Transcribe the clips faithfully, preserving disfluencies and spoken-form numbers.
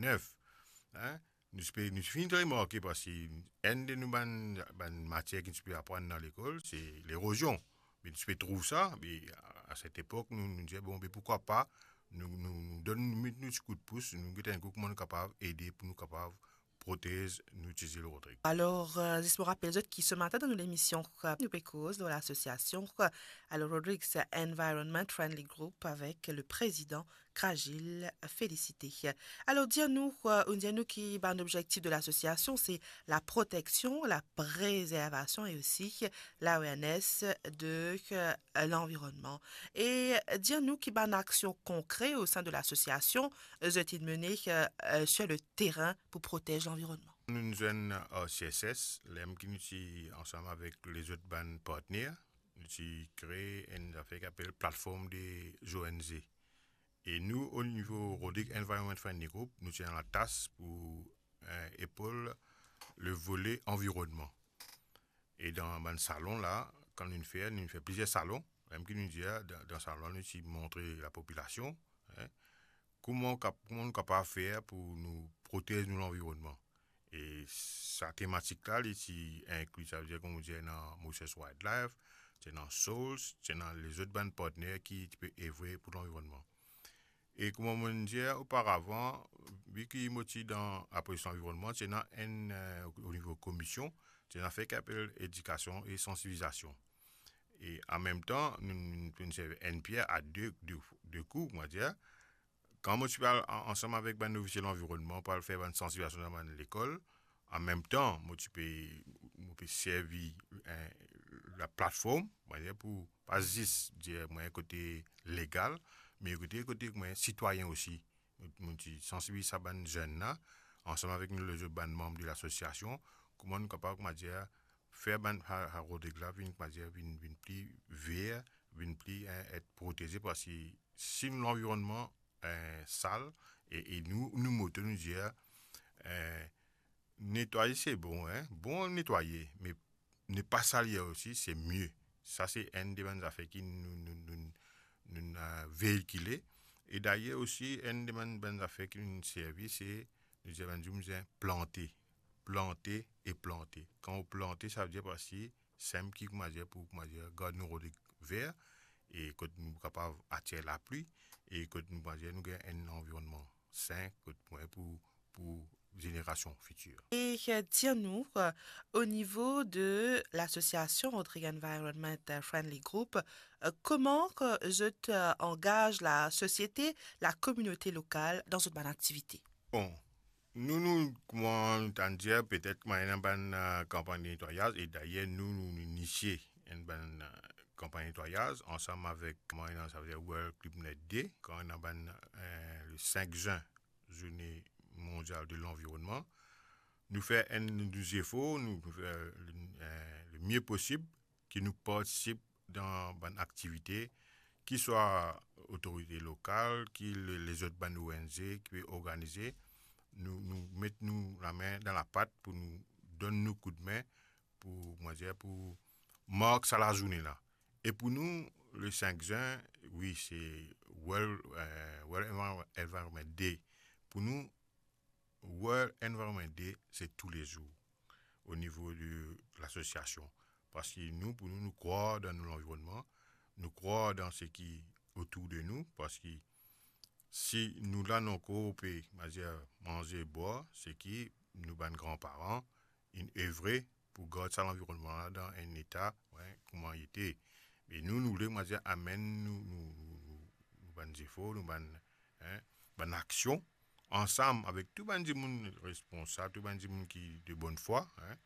nef, hein, nou ti pe, nou ti finn remarke, parski enn de nou bann, bann matier ki nou ti pe aprann dan lekol, se lerozion. Me nou ti pe trouv sa, me a set epok, nou, nou dir, bon, me poukwa pa, nou, nou, nou donn, nou met nou ti kout pous, nou get enn kou kouma nou kapav ede pou nou kapav protez nou ti zil Rodrig. Alor, euh, zis mo rapel zot ki se matin dan nou lemision, euh, nou pe koz lor lasosiasion, euh, alor Rodrigues Environment Friendly Group avek le prezidan Krajil Félicité. Alor, dir nou, euh, ou dir nou ki bann obzektif de lasosiasion, se la proteksion, la prezervasion e osi l'awareness de, euh, lanvironnman. E dir nou ki bann aksion konkre o sein de lasosiasion, euh, zot inn mene, euh, euh, sur le terrain pou protez lanvironnman. Nou'nn zwenn ar C S S, ler ki nou ti ansam avek lezot bann partner, nou ti kree enn zafer ki apel platform de O N G. E nou, o nivo Rodrigues Environment Friendly Group, nou ti ena latas pou, eh, epol le vole anvironnman. E dan bann salon la, kan nou fer, nou fer plizier salon, ler ki nou dir, dan, dan salon la, nou ti montre lapopilasion, hein, kouma kap-, kouma nou kapav fer pou nou protez nou lanvironnman. E sa tematik la, li ti inkli, savedir, kouma dir, ena Moses Wildlife, ti ena Souls, ti ena lezot bann partner ki ti pe evre pou lanvironnman. E kouma mo'nn dir oparavan, vi ki mo ti dan laprodiksion lanvironnman, ti ena enn, eh, o nivo komision, ti ena fer ki apel edikasion e sansibilizasion. E an mem tan, nou, nou, nou servi enn pier a de, de, de kou, kouma dir. Kan mo ti pe al an-, ansam avek bann ofisie lanvironnman pou al fer bann sansibilizasion dan bann lekol, an mem tan, mo ti pe, mo pe servi, eh, laplatform, kouma dir, pou pa zis dir mwa kote legal, me kote, kote mwa sitwayin osi. Mo, mo ti sansibiliz sa bann zenn la, ansam avek nou lezot bann manm de lasosiasion, kouma nou kapav, kouma dir, fer bann, sa, sa Rodrig la vinn, kouma dir, vinn, vinn pli ver, vinn pli, eh, et proteze, parski si nou lanvironnman, eh, sal, e, e nou, nou moto, nou dir, eh, netwaye se bon, hein, bon netwaye, me ne pas salir osi, se mie. Sa se enn de bann zafer ki nou, nou, nou, nou, eh, veikile. E dayer osi, enn de bann, bann zafer ki nou servi, se, nou dir bann dimoun, nou dir plante. Plante e plante. Kan ou plante, savedir parski sem ki, kouma dir, pou, kouma dir, gard nou Rodrig ver, e kot nou kapav atir lapli, e kot nou, kouma dir, nou gagn enn lanvironnman sin, kot mwa pou, pou zenerasion fitir. E, euh, dir nou, euh, o nivo de lasosiasion Rodrigues Environment Friendly Group, euh, kouma ke zot, euh, angaz lasosiete, lakominote lokal dan zot bann aktivite? Bon, nou, nou, kouma nou tann dir, petet kouma ena bann, euh, kanpagn de netwayaz, e dayer nou, nou, nou inisie enn bann, euh, kanpagn netwayaz, ansam avek, kouma ena, savedir World Climate Day, kan ena bann, euh, le cinq juin, Zourne Mondial de Lanvironnman. Nou fer enn nou zefor, nou, nou fer, euh, le mie posib ki nou partisip dan bann aktivite, ki swa otorite lokal, ki le-, lezot bann O N G ki pe organize, nou, nou met nou lame dan lapat pou nou donn nou koudme pou, kouma dir, pou mark sa lazourne la. E pou nou, le cinq juin, wi, se World, euh, World Envir-, Environment Day. Pou nou, World Environment Day, se toulezour o nivo de lasosiasion. Parski nou, pou nou, nou krwar dan nou lanvironnman, nou krwar dan seki otour de nou, parski si nou la, nou ankor pe, kouma dir, manze, bwar, seki nou bann granparan inn evre pou gard sa lanvironnman la dan enn eta, wi, kouma li ete. Me nou, nou le, kouma dir, amenn nou, nou, nou, nou, nou bann zefor, nou bann, hein, bann aksion, ansam avek tou bann dimoun responsab, tou bann dimoun ki de bonn fwa, hein,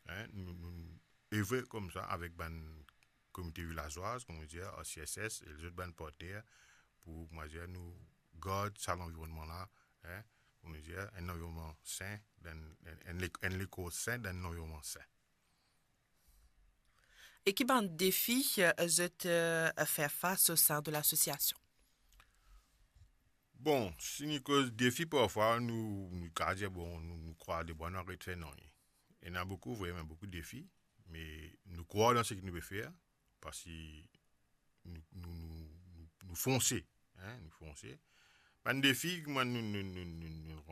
hein, nou, nou, nou evre koumsa avek bann komite vilazwaz, kouma dir, ar C S S, e lezot bann partner, pou, kouma dir, nou gard sa lanvironnman la, hein, kouma dir, enn lanvironnman sin, dan enn, enn lek-, enn lekor sin, dan enn lanvironnman sin. E ki bann defi, euh, zot, euh, fer fas o sein de lasosiasion? Bon, si nou koz defi, parfwa nou, nou kapav dir, bon, nou, nou krwaz debwa, nou aret fer nanye. Ena boukou, vremem boukou defi, me nou krwar dan seki nou pe fer, parski nou, nou, nou, nou, nou fonse, hein, nou fonse. Bann defi, kouma nou, nou, nou, nou, nou